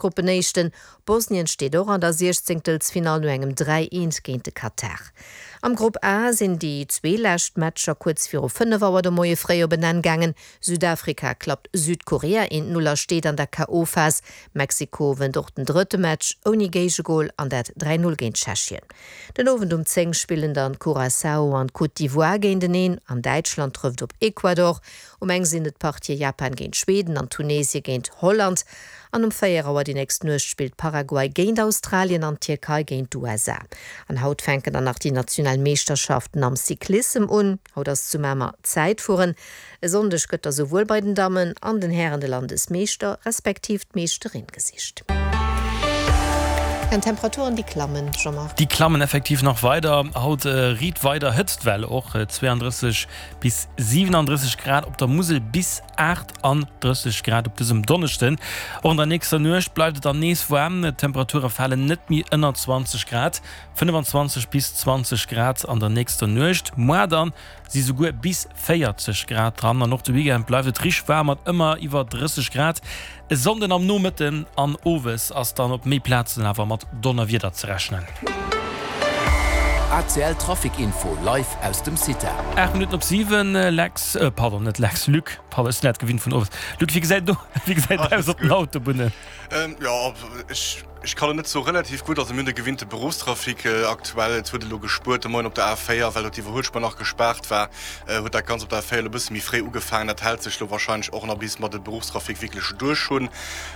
Gruppenéischten. Bosnien steet och an der Siechzéngtelsfinall no engem 3, 1 géint de Katar. Am Grupp A sinn déi zwee lescht Matcher kuerz viru 5 Auer de Moie fréi op en Enn gaangen. Südafrika klappt Südkorea 1, 0 a steet an der KO-Phas. Mexiko wënnt och den drëtte Match ouni Géigegol an dat 3, 0 géint Tschechien. Den Owend um 10 spillen dann Curaçao an d'Côte d'Ivoire géinteneen an Däitschland trëfft op Ecuador. Um eng sinn et d'Partië Japan géint Schweden an Tunesie géint Holland. An um 4 Auer déi nächst Nuecht spillt Paraguay géint Australien an d'Tierkei géint d'USA. An haut fänken dann nach déi national Meeschterschaften am Cyclissem un. Haut ass zu Mamer Zäitfueren. E Sonndeg gëtt da souwuel bei den Dammen an den Hären de Landesmeeschter respektiv d'Meeschterin gesicht. An d'Temperaturen déi klammen, Jean-Marc. Déi klammen effektiv nach weider. Haut riit weider Hëtztwell, och 32 bis 37 Grad op der Musel, bis 38 Grad op dësem Donneschden. Och an der nächster Nuecht bleift et dann nees waarm, d'Temperature falen net méi ënner 20 Grad, 25 bis 20 Grad an der nächster Nuecht. Moar dann si souguer bis 40 Grad dran an och de Weekend bleift et richteg waarm mat ëmmer iwwer 30 Grad. E Sonnden am Nomëtten an Owes ass dann op méi Plazen awer mat Donnerwieder ze rechnen. ACL Trafic Info live aus dem CITA. 8 Minutten op 7, Lex, pardon, net Lex, Luc, pardon, ech sinn dat gewinnt vun owes. Luc, wéi gesäit do, wéi gesäit et aus op den Autobunnen? Jo, ech. Ech kann et net soen, relativ gutt. Also mir hunn de gewinnte Beruffstrafic aktuell. Et huet elo gespuert de Moien op der A4, well do d'Iwwerhuelspuer nach gespaart war, huet dat Ganzt op der A4 elo e bësse méi fréi ugefaangen. Dat hält sech elo wahrscheinlech och nach bis mer de Beruffstrafic wierklech duerch hunn.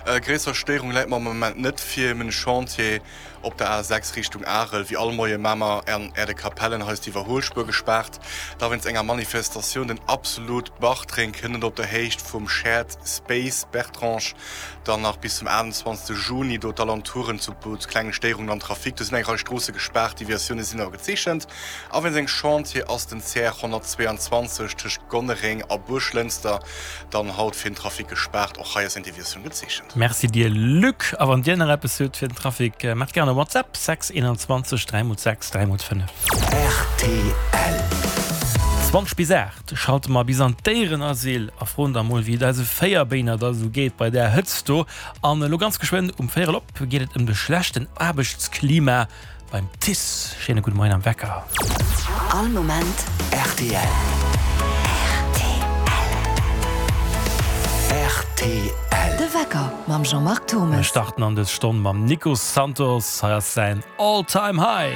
Gréisser Stéierung läit mer am Moment net vir. Mir hunn e Chantier op der A6 Richtung Arel. Wéi all Moie Mamer an Äerdekapellen, hei ass d'Iwwerhuelspuer gespaart. Da wéinst enger Manifestatioun den Absolut Bartreng kënnt op der Héicht vum Shared Space Bertrange. Dann nach bis zum 28 Juni do d'Alentouren zu klengen Stéierungen am Trafic. Do sinn eng Rei Stroosse gespaart, Deviatioune sinn awer gezeechent. A wéinst engem Chantier ass den CR 122 tëscht Gonnereng a Buerglënster dann haut fir den Trafic gespaart. Och hei ass eng Deviatioun gezeechent. Merci dir Luc. A wann dir nach eppes hutt fir den Trafic, maacht gären e WhatsApp, 6 21 3 x 6 3 x 5. Rtl. 20 bis 8. Schalte mer bis an d'Déierenasyl a froen da mol wéi et eise Véierbéiner da sou geet bei där Hëtzt do. An elo ganz geschwënn um Véierel op geet et ëm de schlechten Aarbechtsklima beim TICE. Schéine gudde Moien am Wecker. All Moment rtl. Rtl. De Wecker mam Jean-Marc Mir Thommes. starten an dës Stonn mam Nico Santos. Hei ass säin All Time High.